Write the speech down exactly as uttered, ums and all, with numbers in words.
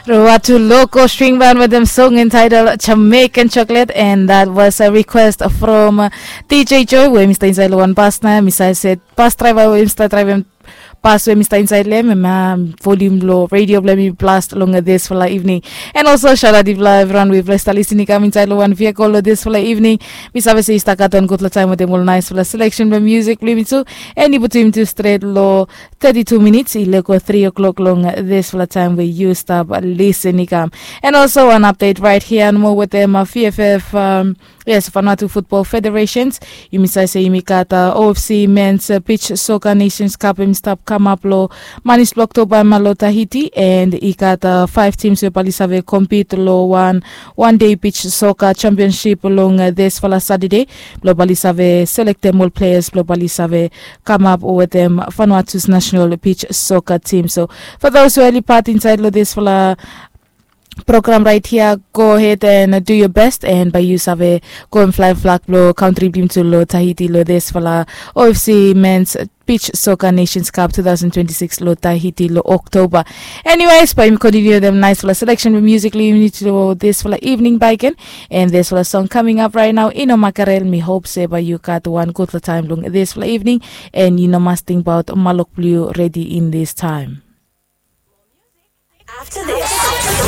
Ruatu Loko String Band with them song entitled Jamaican Chocolate, and that was a request from uh, D J Joy, we mi stap inside lo wan bus na, mi save se bus driver we mi stap drivem bus we mi stap inside lo hem, em volume lo radio blo hem i blast long dispela evening. And also shout out ifla everyone we blast listening kam inside lo wan vehicle lo dispela evening. Mi save se i stap gat wan gutpela taim wetem ol naispela selection blo music blo yumi tu. And i putum yumi tu stret lo thirty-two minutes i leko three o'clock long dispela taim we yu stap listening kam. And also an update right here nomo wetem uh, V F F um, yes, Vanuatu Football Federations. Yumi save se yumi gat uh, O F C Men's uh, Beach Soccer Nations Cup em stap kamap lo manis blo Oktoba ma lo Tahiti, and i gat uh, five teams we bali save compete lo one one day beach soccer championship long uh, dispela Saturday. Blo bali save selectem ol players blo bali save kamap wetem Vanuatu's national beach soccer team. So for those who are part inside lo dispela program right here, go ahead and do your best and bai yu save go and fly flag blo country blo yumi tu lo Tahiti lo dispela O F C Men's Beach Soccer Nations Cup two thousand twenty-six lo Tahiti lo October. Anyways, bai yumi continue dem naispela selection blo music blo yumi tu lo dispela evening bai ken. And dispela song coming up right now, Ino Makarel, mi hope se bai yu gat wan gutpela taim long dispela evening. And yu no mas tingbaot malok blo yu redi in this time. After this.